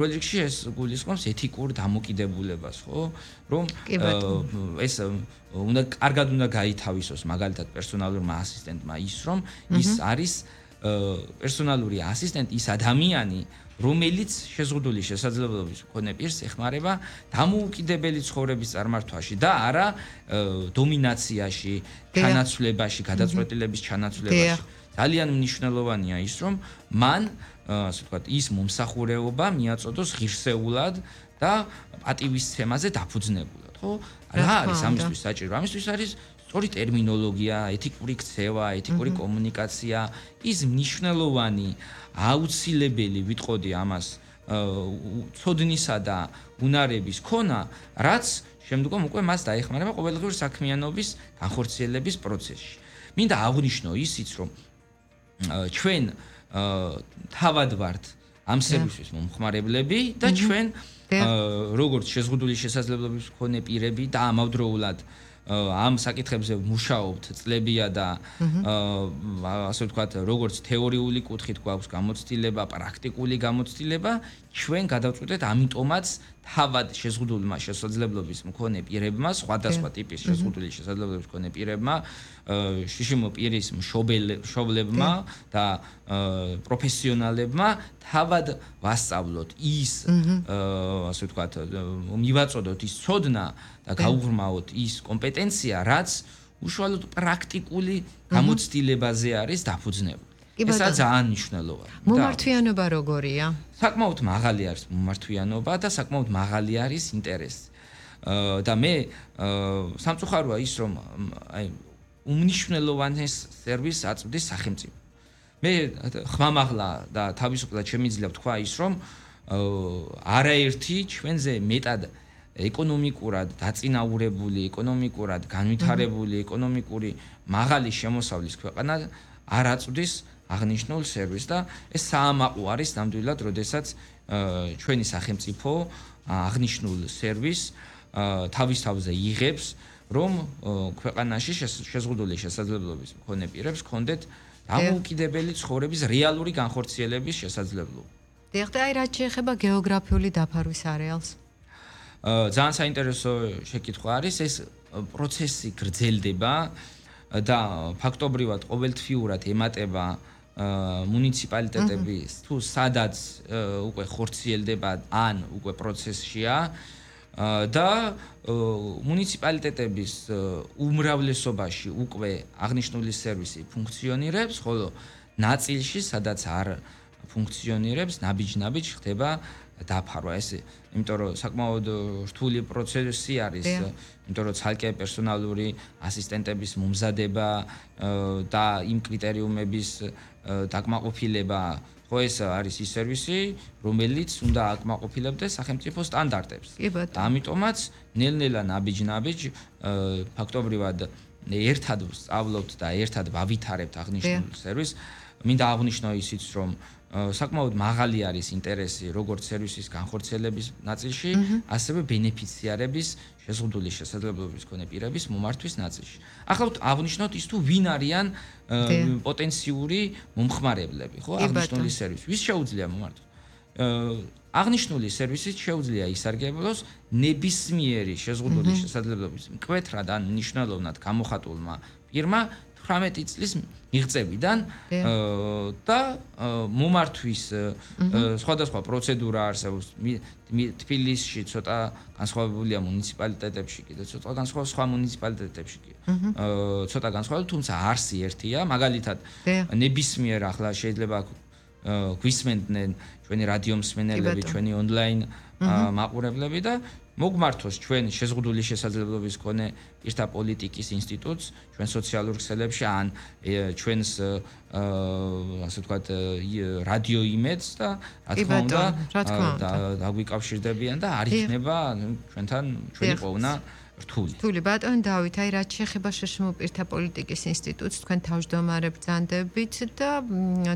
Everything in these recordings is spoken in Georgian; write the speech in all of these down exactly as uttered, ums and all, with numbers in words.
პროექტში ეს გულისხმობს ეთიკურ დამოკიდებულებას, ხო? რომ ეს უნდა კარგად უნდა გაითავისოს მაგალითად პერსონალურმა ასისტენტმა ის, რომ ის არის პერსონალური ასისტენტი, ის ადამიანი, რომელიც შეზღუდული შესაძლებლობის მქონე პირს ეხმარება დამოუკიდებელი ცხოვრების წარმართვაში და არა დომინაციაში, ჩანაცვლებაში, გადაწყვეტილების ჩანაცვლებაში. ძალიან მნიშვნელოვანია ის, რომ მან, ასე ვთქვათ, ის მომსახურეობა მიაწოდოს ღირსეულად და პატივისცემაზე დაფუძნებულად, ხო? რა არის ამისთვის საჭირო? ამისთვის არის სწორი ტერმინოლოგია, ეთიკური ქცევა, ეთიკური კომუნიკაცია, ის მნიშვნელოვანი, აუცილებელი, ვიტყოდი ამას, ცოდნისა და უნარების ქონა, რაც შემდგომ უკვე მას დაეხმარება ყოველდღიური საქმიანობის განხორციელების პროცესში. მინდა აღვნიშნო ისიც, რომ ჩვენ თავად ვართ ამ სერვისის მომხმარებლები და ჩვენ როგორც შეზღუდული შესაძლებლობის მქონე პირები და ამავდროულად ამ საკითხებზე მუშაობთ წლებია და ასე ვთქვათ, როგორც თეორიული კუთხით გვაქვს გამოცდილება, პრაქტიკული გამოცდილება, ჩვენ გადავწყვიტეთ ამიტომაც თავად შეზღუდულმა შესაძლებლობის მქონე პირებმა, სხვადასხვა ტიპის შეზღუდული შესაძლებლობის მქონე პირებმა, შიშიმო პირის მშობლებმა და პროფესიონალებმა თავად ვასწავლოთ ის, ასე ვთქვათ, მივაწოდოთ ის ცოდნა და გაუღრმავოთ ის კომპეტენცია, რაც უშუალოდ პრაქტიკული გამოცდილებაზე არის დაფუძნებული. ესა ძალიან მნიშვნელოვანია. მომართვიანობა როგორია? საკმაოდ მაღალი არის მომართვიანობა და საკმაოდ მაღალი არის ინტერესი. და მე სამწუხაროა ის, რომ აი უმნიშვნელოვანეს სერვისს აწვდის სახელმწიფო. მე ხმამაღლა და თავისუფლად შემიძლია ვთქვა ის, რომ არაერთი ჩვენზე მეტად ეკონომიკურად დაწინაურებული, ეკონომიკურად განვითარებული, ეკონომიკური მაღალი შემოსავლის ქვეყანა არ აწვდის აღნიშნულ სერვისს და ეს საამაყო არის ნამდვილად, როდესაც ჩვენი სახელმწიფო აღნიშნულ სერვისს თავის თავზე იღებს, რომ ქვეყანაში შეზღუდული შესაძლებლობის მქონე პირებს ჰქონდეთ დამოუკიდებელი ცხოვრების რეალური განხორციელების შესაძლებლობა. დიახ, და აი რაც შეეხება გეოგრაფიული დაფარვის არეალს. ძალიან საინტერესო შეკითხვა არის, ეს პროცესი გრძელდება და ფაქტობრივად ყოველთვიურად ემატება მუნიციპალიტეტები თუ სადაც უკვე ხორციელდება ან უკვე პროცესშია და მუნიციპალიტეტების უმრავლესობაში უკვე აღნიშნული სერვისი ფუნქციონირებს, ხოლო ნაწილში, სადაც არ ფუნქციონირებს, ნაბიჯ-ნაბიჯ ხდება დაფარვა. ეს იმიტომ რომ საკმაოდ რთული პროცესი არის, იმიტომ რომ ცალკე პერსონალური ასისტენტების მომზადება და იმ კრიტერიუმების დაკმაყოფილება, ხო ეს არის ის სერვისი, რომელიც უნდა აკმაყოფილებდეს სახელმწიფო სტანდარტებს. და ამიტომაც ნელ-ნელა ნაბიჯ-ნაბიჯ ფაქტობრივად ერთად ვსწავლობთ და ერთად ვავითარებთ აღნიშნულ სერვისს. მინდა აღვნიშნო ისიც, რომ საკმაოდ მაღალი არის ინტერესი როგორც სერვისის განხორციელების ნაწილში, ასევე ბენეფიციარების შეზღუდული შესაძლებლობის მქონე პირების მომართვის ნაწილში. ახლა აღვნიშნოთ ის თუ ვინ არიან პოტენციური მომხმარებლები, ხო, აღნიშნული სერვისი. ვის შეუძლია მომართოს? აღნიშნული სერვისით შეუძლია ისარგებლოს ნებისმიერი შეზღუდული შესაძლებლობის მკვეთრად ან მნიშვნელოვნად გამოხატულმა პირმა თვრამეტი წლის მიღწევიდან და მომართვის სხვადასხვა პროცედურა არსებობს. თბილისში ცოტა განსხვავებულია, მუნიციპალიტეტებში კიდე ცოტა განსხვავებული, სხვა მუნიციპალიტეტებში კი ცოტა განსხვავებული, თუმცა არსი ერთია. მაგალითად, ნებისმიერ ახლა შეიძლება გვისმენდნენ ჩვენი რადიო მსმენელები, ჩვენი ონლაინ მაყურებლები და მოგმართოს ჩვენ შეზღუდული შესაძლებლობის მქონე პირთა პოლიტიკის ინსტიტუტს, ჩვენ სოციალურ ქსელებში ან ჩვენს ასე ვთქვათ რადიო იმედს და რა თქმა უნდა დაგვიკავშირდებიან და არ იქნება ჩვენთან ჩვენი ყოფნა რთული. რთული ბატონ დავით, აი რაც შეეხება შშმ პირთა პოლიტიკის ინსტიტუტს, თქვენ თავმჯდომარე ბრძანდებით და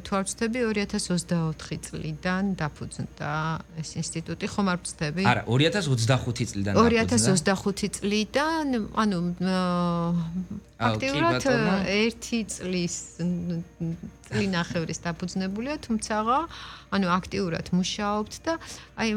თუ არ ვცდები ორი ათას ოცდაოთხი წლიდან დაფუძნდა ეს ინსტიტუტი, ხომ არ ვცდები? არა, ორი ათას ოცდახუთი წლიდან დაფუძნდა. ორი ათას ოცდახუთი წლიდან, ანუ აქტიურად ერთი წლის წლინახევრის დაფუძნებულია, თუმცა ანუ აქტიურად მუშაობთ და აი